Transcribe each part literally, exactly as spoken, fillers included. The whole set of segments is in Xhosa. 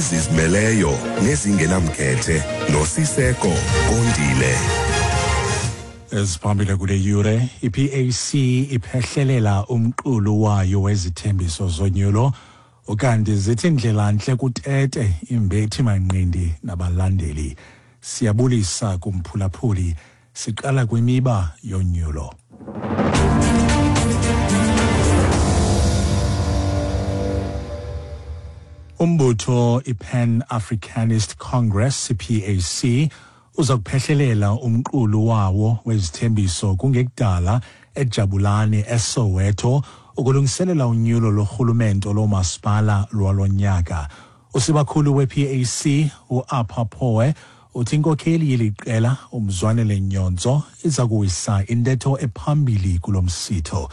Ezizimeleyo nezingenamkhethe noSiseko Kondile. Eziphambili kule yure, i-P A C iphehlelela umqulu wayo wezithembiso zonyulo, ukanti zithi indlela ntle kuTete imbethi manqindi nabalandeli. Siyabulisa kumphulaphuli, siqala kwimiba yonyulo. Umbutho i-Pan Africanist Congress, P A C, uza kuphehlelela umqulu wawo wezithembiso kungekudala eJabulani eSoweto ukulungiselela unyulo lorhulumento lomasipala lwalonyaka. Usibakhulu we-P A C u-Apha Poe uthi inkokheli yeliqela uMzwanele Nyonzo iza kuwisa intetho ephambili kulo msitho.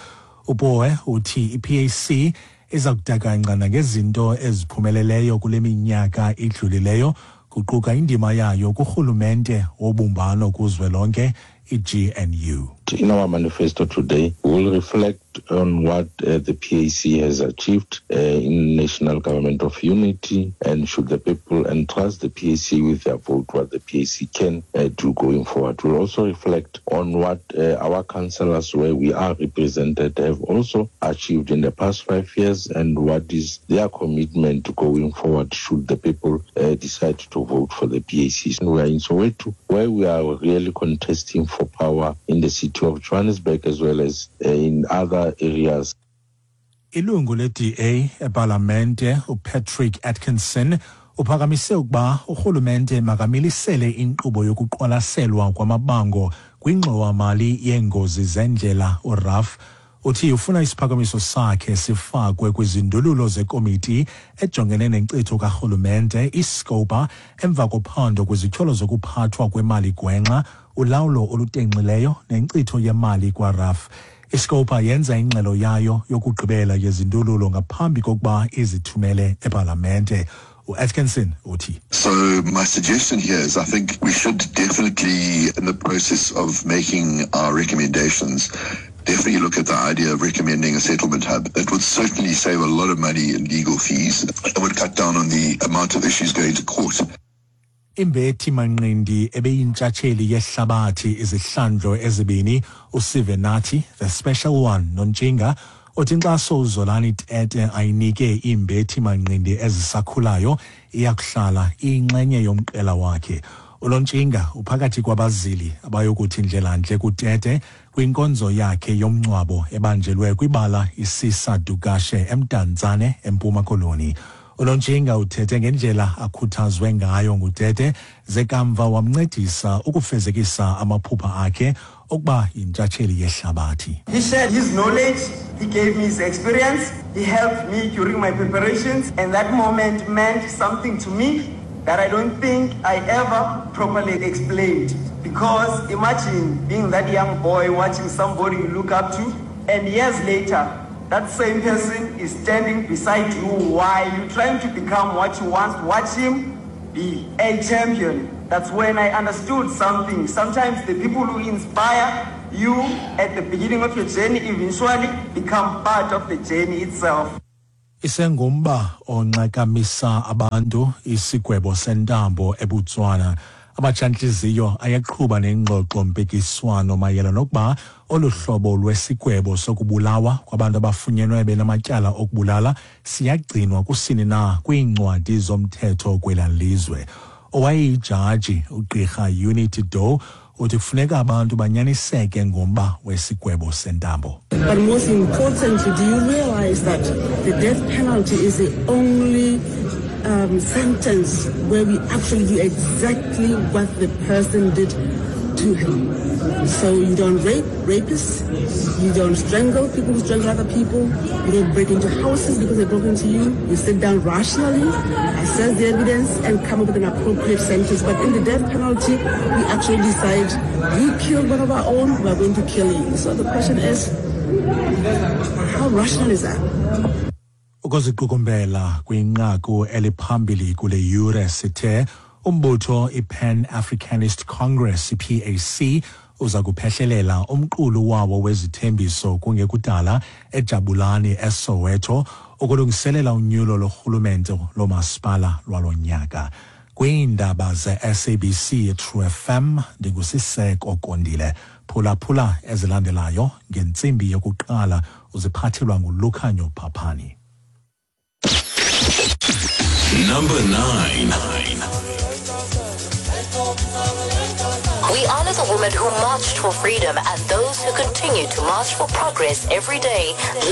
UPoe uthi i-P A C iza kudakancana ngezinto eziphumeleleyo kule minyaka idlulileyo, kuquka indima yayo kurhulumente wobumbano kuzwelonke i G N U. In our manifesto today, we will reflect on what uh, the P A C has achieved uh, in national government of unity, and should the people entrust the P A C with their vote, what the P A C can uh, do going forward. We'll also reflect on what uh, our councillors where we are represented have also achieved in the past five years and what is their commitment going forward should the people uh, decide to vote for the P A C. We are in Soweto, where we are really contesting for power in the city of Johannesburg as well as uh, in other areas. Ilungu le-D A ePalamente uPatrick Atkinson uphakamise ukuba urhulumente makamilisele inkqubo yokuqwalaselwa kwamabango kwingxowa-mali yeengozi zendlela u-R A F. Uthi ufuna isiphakamiso sakhe sifakwe kwizindululo zekomiti ejongene nenkcitho karhulumente iScopa emva kophando kwizityholo zokuphathwa kwemali gwenxa, ulawulo olutenxileyo nenkcitho yemali kwa-R A F. iScopa yenza ingxelo yayo yokugqibela yezindululo ngaphambi kokuba izithumele ePalamente. U-Atkinson uthi, So my suggestion here is I think we should definitely, in the process of making our recommendations, definitely look at the idea of recommending a settlement hub. That would certainly save a lot of money in legal fees. It would cut down on the amount of issues going to court. Imbethi manqindi ebeyintshatsheli yehlabathi izihlandlo ezibini uSivenathi, the special one, Nontshinga, uthi inkxaso uZolani Tete ayinike imbethi manqindi ezisakhulayo iyakuhlala iyinxenye yomqela wakhe. UNontshinga uphakathi kwabazili abayokuthi indlelantle kuTete kwinkonzo yakhe yomngcwabo ebanjelwe kwibala iSisa Dukashe eMdantsane eMpuma Koloni. UNontshinga uthethe ngendlela akhuthazwe ngayo nguTete ze kamva wamncedisa ukufezekisa amaphupha akhe okuba yintshatsheli yehlabathi. He shared his knowledge, he gave me his experience, he helped me during my preparations, and that moment meant something to me that I don't think I ever properly explained. Because imagine being that young boy watching somebody you look up to, and years later, that same person is standing beside you while you're trying to become what you once watched him be, a champion. That's when I understood something. Sometimes the people who inspire you at the beginning of your journey eventually become part of the journey itself. Isengumba onxakamisa abantu isigwebo sentambo eBotswana. Abatshantliziyo ayaqhuba nengxoxo mpikiswano mayela nokuba olu hlobo lwesigwebo sokubulawa kwabantu abafunyenwe benamatyala okubulala siyagcinwa kusini na kwiincwadi zomthetho kwela lizwe. Owayeyijaji ugqirha Unity Doe uthi kufuneka abantu banyaniseke ngomba wesigwebo sentambo. But most importantly, do you realize that the death penalty is the only um, sentence where we actually do exactly what the person did to him? So you don't rape rapists, you don't strangle people who strangle other people, you don't break into houses because they broke into you, you sit down rationally, assess the evidence and come up with an appropriate sentence. But in the death penalty, we actually decide, you killed one of our own, we are going to kill you. So the question is, how rational is that? Ukuziqukumbela kwinqaku eliphambili kule yure sithe umbutho i-Pan Africanist Congress I P A C uza kuphehlelela umqulu wawo wezithembiso kungekudala eJabulani eSoweto Ukulungiselela unyulo lorhulumente lomasipala lwalo nyaka. Kwiindaba ze-S A B C True F M, ndinguSiseko Kondile. Phulaphula ezilandelayo ngentsimbi yokuqala, uziphathelwa nguLukhanyo Phaphani. Number nine. We honor the women who marched for freedom and those who continue to march for progress every day.